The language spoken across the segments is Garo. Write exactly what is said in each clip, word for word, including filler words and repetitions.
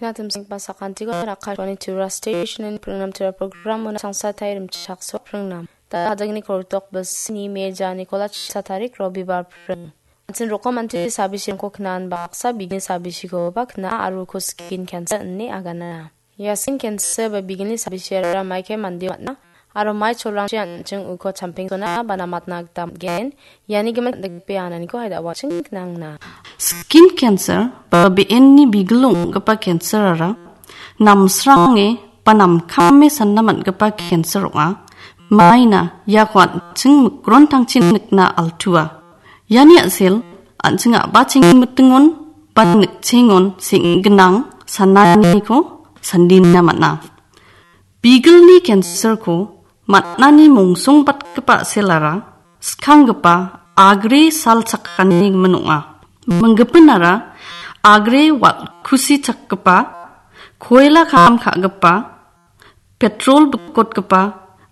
Ina timsingba sakantiko rakatoni tura station in pringnam tura program una sangsatai rimchakso pringnam. Da hadagni korotok basini meja Nikola chisa tarik Robibar pring. Ansin rokom anti sabisirangko knan baksa bigni sabisikoba kna aro uko skin cancer ine agana. Ia skin cancer ba bigni sabisirara maike mandi matna, aro mai cholrangchi an·ching uko champeng sona ba namatna gita man·gen. Iani gimin dikpe ananiko haida waching knangna. Skin cancer ba be·enni bigil ong·gipa cancer-ara namsrange ba namkame sanna man·gipa cancer ong·a. Maina iako an·ching mikrontangchi nikna altua. Iani a·sel an·ching a·bacheng mitingon ba nikchengon seng·ginang sananiko sandina man·a. Bigilni cancer-ko man·ani mongsongbatgipa a·selara skanggipa agre sal chakani gimin ong·a. Minggipinara agre wal-, kusi chakgipa, koila kam ka·gipa, petrol bikotgipa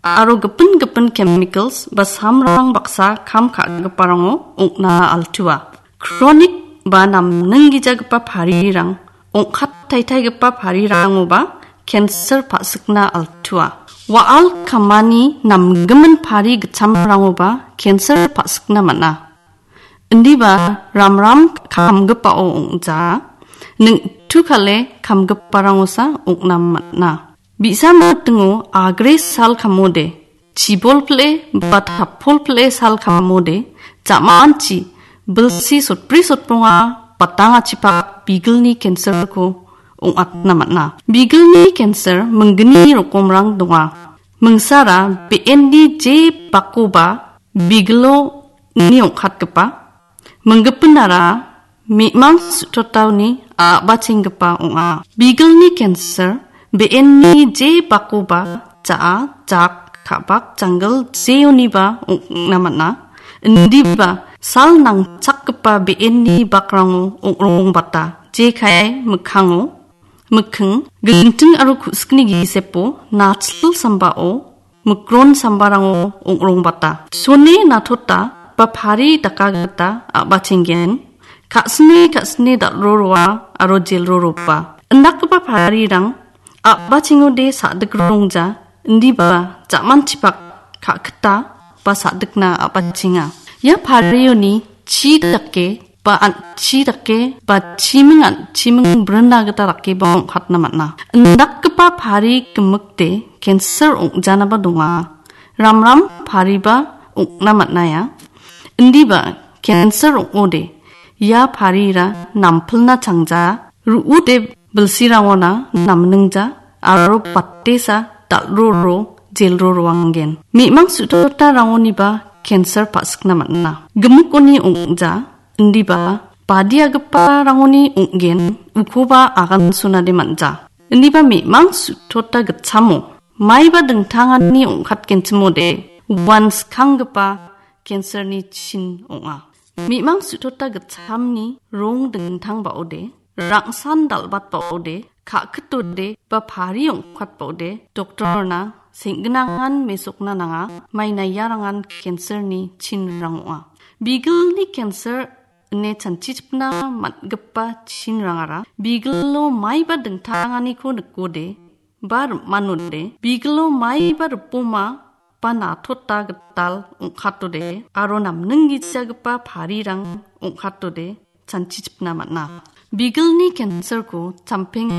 aro gipin gipin chemicals ba samrang baksa kam ka·giparango ong·na altua. Kronik ba namninggijagipa parirang, ong·kat taitaigipa parirangoba cancer pa·sikna altua. Wa·al kamani namgimin pari gitchamrangoba cancer pa·sikna man·a. Indiba ramram kamgipao ong·ja, ningtu kale kamgiparangosa ong·na man·a. Bi·sa mitingo agre sal kamode, chibol pile ba tapol pile sal kamode, ja·manchi bilsi sotbri sotbonga batangachipak bigilni cancer-ko ong·atna man·a. Bigilni cancer minggni rokomrang donga. Mingsara be·enni je bakoba bigilo ni ong·katgipa, minggipinara me·mang su·totaoni a·bachenggipa ong·a. Bigilni cancer be·enni je bakoba ja·a, jak, ka·bak, janggil jeoniba ong·na man·a. Indiba sal nangchakgipa be·enni bakrango ong·rongbata, jekai mikkango, mikking, ginting aro ku·sikni gisepo, nachil sambao, mikron sambarango ong·rongbata. Sone natota ba pari daka gita a·bachenggen, ka·sine ka·sine dal·ro roa aro jel ro roba. Indakgipa parirang a·bachengode sa·dik rongja, indiba ja·manchipak ka·kita ba sa·dikna a·bachenga. Ia parioni chi dake ba an·chi dake ba chiming an-, chiming brinna gita dakeba ong·katna man·a. Indakgipa pari gimikde cancer ong·janaba donga. Ramram pariba ong·na man·aia. Indiba cancer ong·ode ia parira nampilna changja, ru·ode bilsirangona namningja aro batesa dal·ro ro, jel ro roanggen. Me·mang su·totarangoniba cancer pa·sikna man·a. Gimikoni ong·ja, indiba badiagiparangoni ong·gen, ukoba agan sonade man·ja. Indiba me·mang su·tota gitchamo maiba dingtangani ong·katgenchimode uan skanggipa cancer-ni chin ong·a. Me·mang su·tota gitchamni rong dingtangbaode, rangsan dal·batbaode, ka·kitode ba pari ong·katbaode, doktorna seng·ginangan mesokna nanga, maina iarangan cancer-ni chinrang ong·a. Bigilni cancer ine chanchichipna man·gipa chinrangara bigilo maiba dingtanganiko nikode, ba rim·manode, bigilo maiba ripoma ba natota gital ong·katode aro namninggijagipa parirang ong·katode chanchichipna man·a. Bigilni cancer-ko champenga